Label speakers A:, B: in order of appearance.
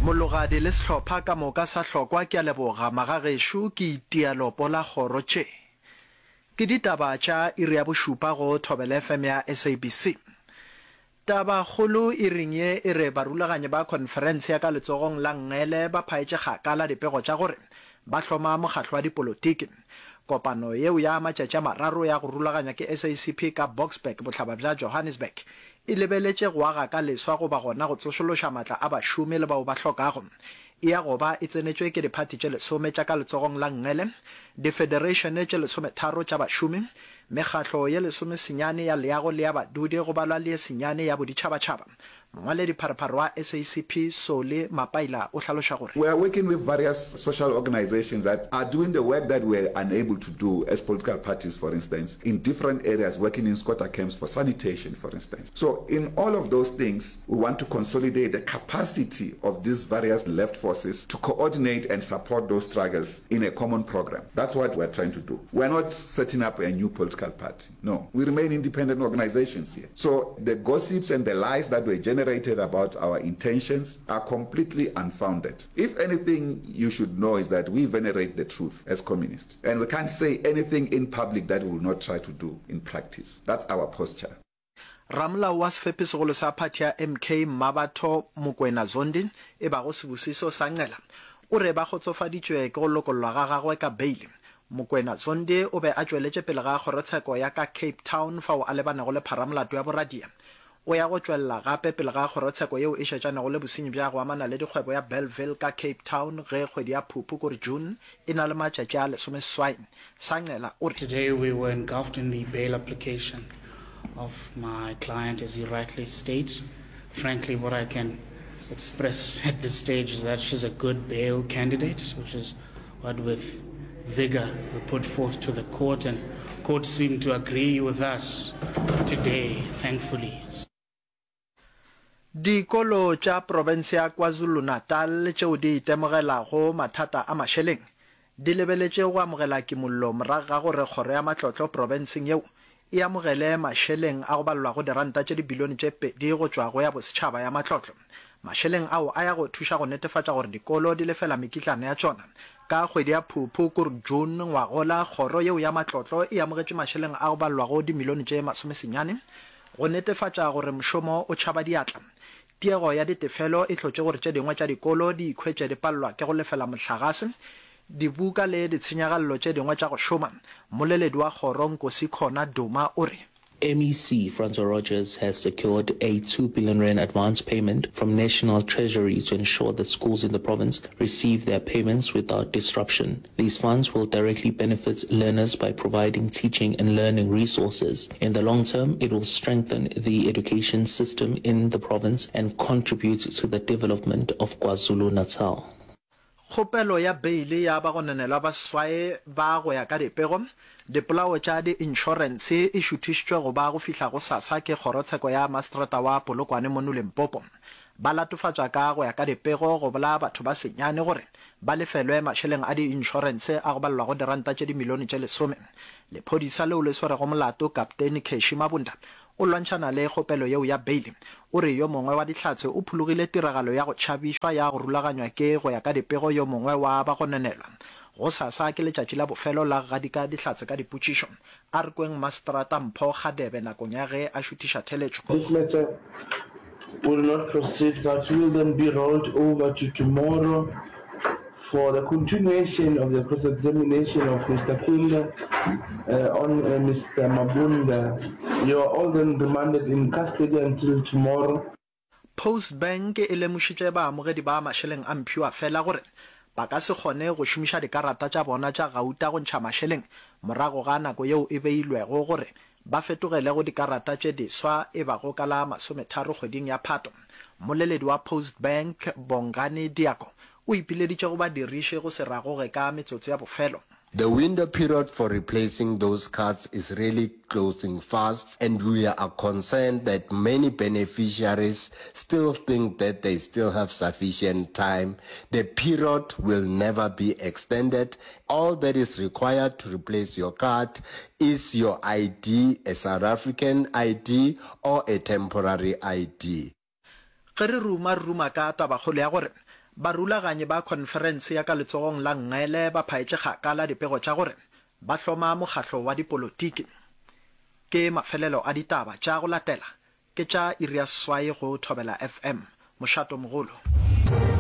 A: Mologadi le sehlopha ka moka sa hlokwa ke a leboga magagešo ke itia lopo la kgoro tše ke ditaba tša iri ya bošupa go Thobela FM ya SABC. Taba kgolo iring ye e re barulaganyi ba khonferense ya ka letsogong la nngele ba phaetše kgakala dipego tša gore ba hloma mokgahlo wa dipolotiki. Kopano yeo ya matšatši a mararo ya go rulaganywa ke SACP ka Boksburg, bohlaba bja Johannesburg, e lebeletše go aga ka leswa goba gona go tsošološa matla a bašomi le bao ba hlokago. E ya go ba e tsenetšwe ke diphathi tše lesome tša ka letsogong la nngele, difedereišene tše lesometharo tša bašomi, mekgatlo ye lesomesenyane ya leago le ya badudi go balwa le ye senyane ya boditšhabatšhaba. Mongwaledipharephare wa SACP, Solly Mapaila o hlaloša gore.
B: We are working with various social organisations that are doing the work that we are unable to do as political parties, for instance, in different areas, working in squatter camps for sanitation, for instance. So in all of those things, we want to consolidate the capacity of these various left forces to coordinate and support those struggles in a common program. That's what we're trying to do. We're not setting up a new political party. No, we remain independent organizations here. So the gossips and the lies that were generated about our intentions are completely unfounded. If anything you should know is that we venerate the truth as communists. And we can't say anything in public that we will not try to do in practice. That's our posture.
A: Ramolao wa sefepisegolo sa phathi ya MK Mmabatho Mokoena Zondi e bago Sibusiso Sancela o re ba kgotsofaditšwe ke go lokollwa ga gagwe ka beile. Mokoena Zondi o be a tšweletše pele ga kgorotsheko ya ka Cape Town fao a lebanego le pharamolato ya boradia. O ya go tšwelela gape pele ga kgorotsheko yeo e šetšanego le bosenyi bja go amana le dikgwebo ya Bellville ka Cape Town ge kgwedi ya Phuphu kore June e na le matšatši a lesomeseswai. Sancela o re.
C: Today we were engulfed in the bail application of my client as you rightly state. Frankly what I can express at this stage is that she's a good bail candidate, which is what with vigor we put forth to the court and court seemed to agree with us today, thankfully.
A: Dikolo tša profense ya KwaZulu-Natal tšeo di itemogelago mathata a mašeleng di lebeletše go amogela kimollo morago ga gore kgoro ya matlotlo profenseng yeo e amogele mašeleng a go balelwago diranta tše dibilione tše pedi go tšwa go ya bosetšhaba ya matlotlo. Mašeleng ao a ya go thuša go netefatša gore dikolo di lefela mekitlana ya tšona. Ka kgwedi ya Phuphu, kur June, ngwagola, kgoro yeo ya matlotlo e amogetše mašeleng a go balelwago dimilione tše masomesenyane go netefatša gore mošomo o tšhaba diatla. Tiego ya ditefelo e hlotše gore tše dingwe tša dikolo di ikhwetše di palelwa ke go lefela mohlagase, dibuka le ditshenyagalelo tše dingwe tša go šoma. Mmoleledi wa kgoro Nkosikhona Duma o re.
D: MEC Francois Rogers has secured a 2 billion rand advance payment from National Treasury to ensure that schools in the province receive their payments without disruption. These funds will directly benefit learners by providing teaching and learning resources. In the long term, it will strengthen the education system in the province and contribute to the development of KwaZulu-Natal.
A: Kgopelo ya beile ya bagononelwa ba seswai ba go ya ka dipego, dipolao tša diinšorense e šuthišitšwe go ba go fihla gosasa ke kgorotsheko ya maseterata wa Polokwane mono Limpopo. Ba latofatšwa ka go ya ka dipego go bolaya batho ba senyane gore ba lefelwe mašeleng a diinšorense a go balelwago diranta tše dimilione tše lesome. Lephodisa leo le swerego molato, Kapteini Cashy Mabunda, o lwantšhana le kgopelo yeo ya beile. O re yo mongwe wa Dihlatse o phologile tiragalo ya go tšhabišwa ya go rulaganywa ke go ya ka dipego yo mongwe wa bagononelwa. Gosasa ke letšatši la bofelo la go gadika Dihlatse ka dipotšišo. A re kweng Maseterata Mpho Kgadebe nakong ya ge a šuthiša theletšo.
E: This matter will not proceed but will then be rolled over to tomorrow for the continuation of the cross-examination of Mister Kunda on Mister Mabunda. You are all then remanded in custody until tomorrow.
A: Postbank e lemošitše baamogedi ba mašeleng a mphiwafela gore ba ka se kgone go šomiša dikarata tša bona tša gauta go ntšha mašeleng morago ga nako yeo e beilwego gore ba fetogele go dikarata tše diswa e bago ka la masometharo kgweding ya Phato. Mmoleledi wa Postbank, Bongani Diako, o ipileditše go badiriši go se ragoge ka metsotso ya bofelo.
F: The window period for replacing those cards is really closing fast and we are concerned that many beneficiaries still think that they still have sufficient time. The period will never be extended. All that is required to replace your card is your ID, a South African ID or a temporary ID.
A: Ge re ruma, re ruma ka tabakgolo ya gore Barulaganyi ba khonferense ya ka letsogong la nngele ba phaetše kgakala dipego tša gore ba hloma mokgahlo wa dipolotiki. Ke mafelelo a ditaba tša go latela ke tša iri ya seswai go Thobela FM, mošatomogolo.